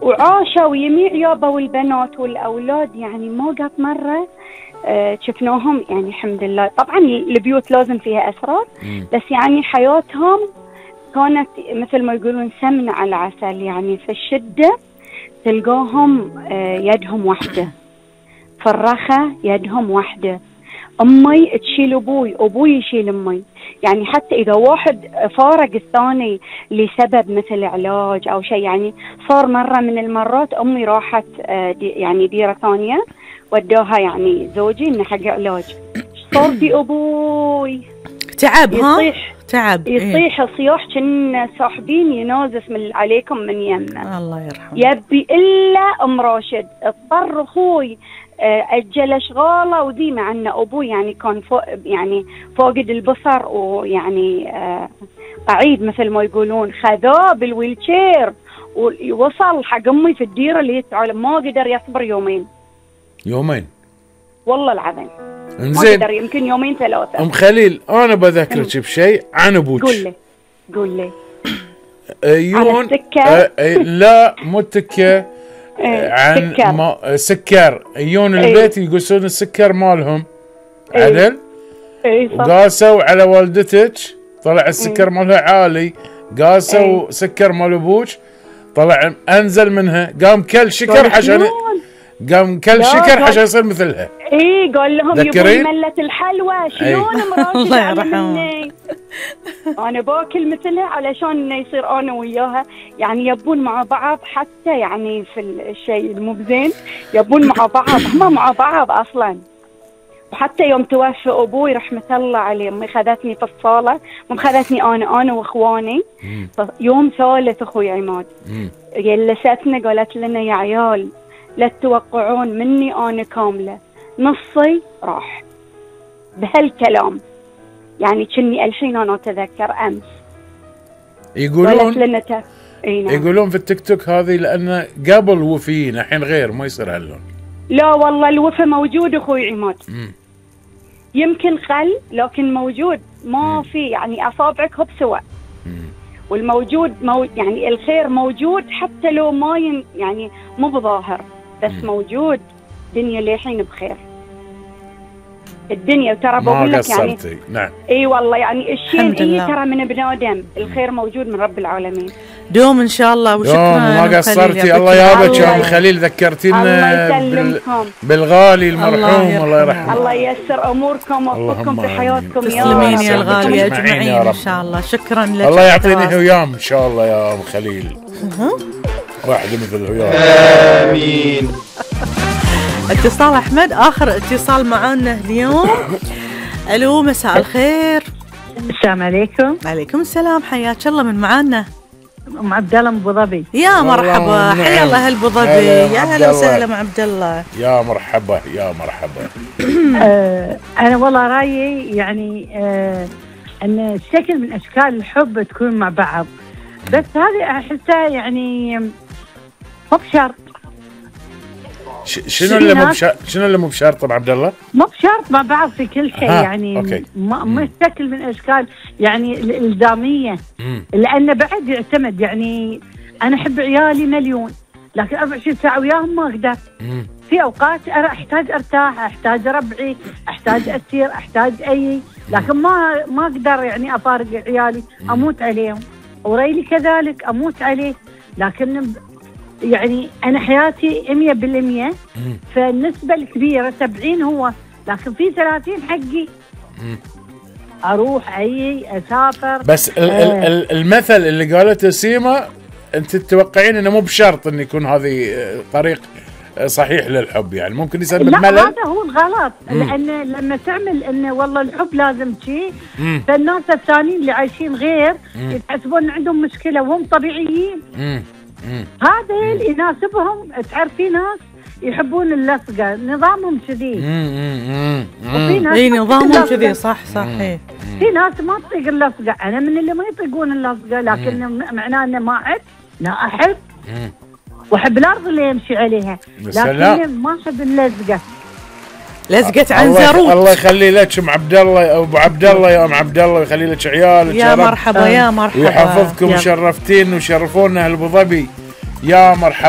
وعاشوا يميع يابا، والبنات والأولاد يعني ما قط مرة شفناهم يعني الحمد لله. طبعا البيوت لازم فيها أسرار، بس يعني حياتهم كانت مثل ما يقولون سمن على عسل. يعني في الشدة تلقاهم يدهم واحدة، في الرخاء يدهم واحدة. أمي تشيل أبوي، أبوي يشيل أمي. يعني حتى إذا واحد فارق الثاني لسبب مثل علاج أو شيء، يعني صار مرة من المرات أمي راحت يعني ديرة ثانية ودوها يعني زوجي إنه حق علاج، صار في أبوي تعب، يصيح تعب، يصيح صياح كنا صاحبين ينازف من عليكم من يمنا، الله يرحمه. يبي إلا أم راشد. اضطر أخوي أجل أشغاله وذي، مع أن أبوي يعني كان يعني فاقد البصر ويعني قعيد مثل ما يقولون، خذاه بالويلشير ووصل حق أمي في الديرة اللي تعلم ما قدر يصبر يومين والله العظيم. ما قدر، يمكن يومين ثلاثة. أم خليل أنا بذكرك بشيء عن أبوك. قول لي يون لا مو التكة، عن سكر. يون البيت يقصون السكر مالهم عدل، وقاسوا على والدتك طلع السكر مالها عالي، قاسوا سكر مال ابوك طلع انزل منها، قام كل شكر عشان يصير مثلها. قال لهم يبون ملة الحلوى. شلون مراتي علمني انا باكل مثلها علشان يصير انا وياها يعني يبون مع بعض، حتى يعني في الشيء المو بزين يبون مع بعض، هم مع بعض اصلا. وحتى يوم توفى ابوي رحمه الله عليه، امي خذتني في الصاله، مو خذتني انا واخواني. يوم ثالث اخوي عماد جلستنا قالت لنا يا عيال لا تتوقعون مني انا كامله، نصي راح بهالكلام. يعني كني الحين انا اتذكر امس يقولون في التيك توك هذه لان قبل وفيين الحين غير ما يصير هاللون. لا والله الوفا موجود اخوي عماد، يمكن قل لكن موجود، ما في يعني اصابعك هو بسواء. والموجود يعني الخير موجود حتى لو ما يعني مو بظاهر، بس موجود. الدنيا للحين بخير الدنيا، وترى بقول لك يعني نعم. اي والله يعني الشيء ترى من ابن ادم، الخير موجود من رب العالمين. دوم ان شاء الله. وشكرا ما قصرتي، الله يابك يا ام خليل، ذكرتينا بالغالي المرحوم، الله يرحمه. الله ييسر اموركم ويوفقكم في حياتكم يا رب. تسلمين يا الغاليه اجمعين ان شاء الله. شكرا لك، الله يعطيني هيام ان شاء الله يا ام خليل، واحده مثل هيام. امين. اتصال احمد، اخر اتصال معانا اليوم. الو مساء الخير. السلام عليكم. وعليكم السلام، حياك الله. من معانا؟ ام عبد الله من ابو ظبي. يا مرحبا، حيا الله هالابو ظبي، يا هلا وسهلا ام عبد الله. يا مرحبا يا مرحبا. انا والله رايي يعني ان شكل من اشكال الحب تكون مع بعض، بس هذه احسها يعني مو بشرط. شنو اللي مو بشرط ابو عبد الله؟ مو بشرط مع بعض في كل شيء يعني مو شكل من اشكال يعني الالزاميه، لانه بعد يعتمد. يعني انا احب عيالي مليون، لكن 24 ساعه وياهم ما اقدر. في اوقات احتاج ارتاح، احتاج ربعي، احتاج اسير، احتاج لكن ما اقدر يعني افارق عيالي، اموت عليهم. وريلي كذلك اموت عليه، لكن يعني أنا حياتي 100%، فالنسبة الكبيرة 70 هو، لكن في 30 حقي. أروح أسافر. بس المثل اللي قالته سيما أنت تتوقعين أنه مو بشرط أن يكون هذه طريق صحيح للحب، يعني ممكن يسبب ملل. لا هذا هو الغلط، لأن لما تعمل أنه والله الحب لازم شيء، فالناس الثانيين اللي عايشين غير يتحسبون عندهم مشكلة وهم طبيعيين. هذا اللي يناسبهم. تعرفي ناس يحبون اللصقة، نظامهم كذي. وفي ناس نظامهم كذي، صح. في ناس ما تطيق اللصقة. أنا من اللي ما يطيقون اللصقة، لكن معناه أنه ما أحب. لا أحب وأحب الأرض اللي يمشي عليها، لكن ما أحب اللزقة. لزقت عنزروت. الله يخلي لك ام عبد الله، ابو عبد الله يا ام عبد الله، ويخلي لك عيالك يا مرحبا. يا مرحبا، ويحفظكم. وشرفتين وشرفونا هالابو ظبي. يا مرحبا.